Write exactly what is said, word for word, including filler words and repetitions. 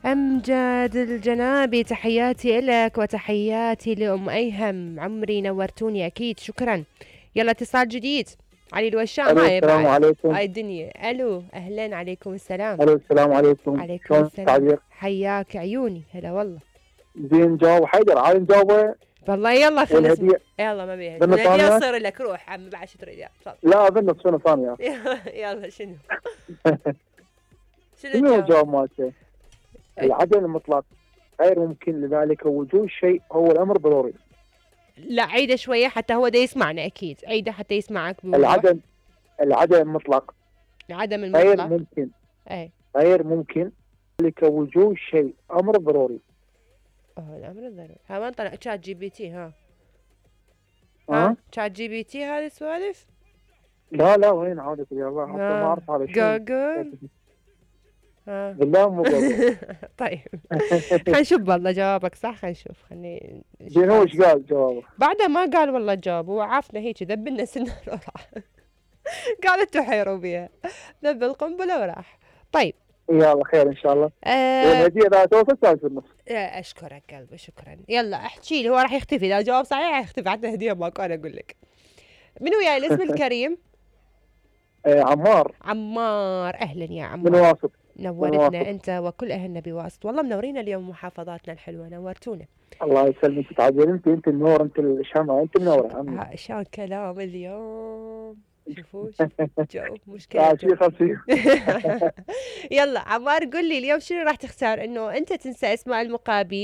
أمجد الجنابي، تحياتي إلك وتحياتي لأم أيهم، عمري نورتوني أكيد، شكرا. يلا اتصال جديد، علي الوشام. هاي السلام بعد عليكم. هاي الدنيا. ألو، أهلا، عليكم السلام. الو السلام عليكم. عليكم شلون السلام، التعبير؟ حياك عيوني، هلا والله. زين جاوب حيدر، عادي نجاوبه. والله يلا خلص. والهدية يلا ما بيها بنو الهدية ثانية؟ تصير لك، روح عم بعد شو تريد. لا بنو شنو ثانية. يلا شنو؟ شنو شنو الجواب؟ الجواب مالته؟ العدم المطلق غير ممكن، لذلك وجود شيء هو الأمر ضروري. لا عيده شوية حتى هو ده يسمعنا، أكيد عيده حتى يسمعك بوضوح. العدم العدم المطلق العدم المطلق غير ممكن. أي غير ممكن، لذلك وجود شيء أمر ضروري. اه الأمر الضروري. ها وين طلع شات جي بي تي؟ ها ها شات جي بي تي هذه السوالف؟ لا لا وين عادة يا الله، حتى ما أعرف هذا شو. جوجل. ها بالله مو جوجل. طيب خلينا نشوف والله جوابك صح، خلينا نشوف. خليني زين هو ايش قال جوابه؟ بعده ما قال والله الجواب، هو عافنا هيك ذب لنا سنة وراح. قالت تحيروا بيها، ذب القنبلة وراح. طيب يلا خير ان شاء الله. آه والهدية اذا توصل تعال في النص. اشكرك قلبي، شكرا. يلا احكي لي، هو راح يختفي اذا جواب صحيح، راح يختفي، حتى هدية ماكو. انا اقول لك من وياي الاسم الكريم؟ آه عمار. عمار، اهلا يا عمار. من واسط. نورتنا انت وكل اهلنا بواسط، والله منورين اليوم محافظاتنا الحلوه، نورتونا. الله يسلمك، تعجل انت انت النور، انت الشمعة، انت منوره عمي. شلون كلام اليوم، شوفوا جو مشكله. يلا عمار قل لي اليوم شنو راح تختار؟ انه انت تنسى اسماء المقابل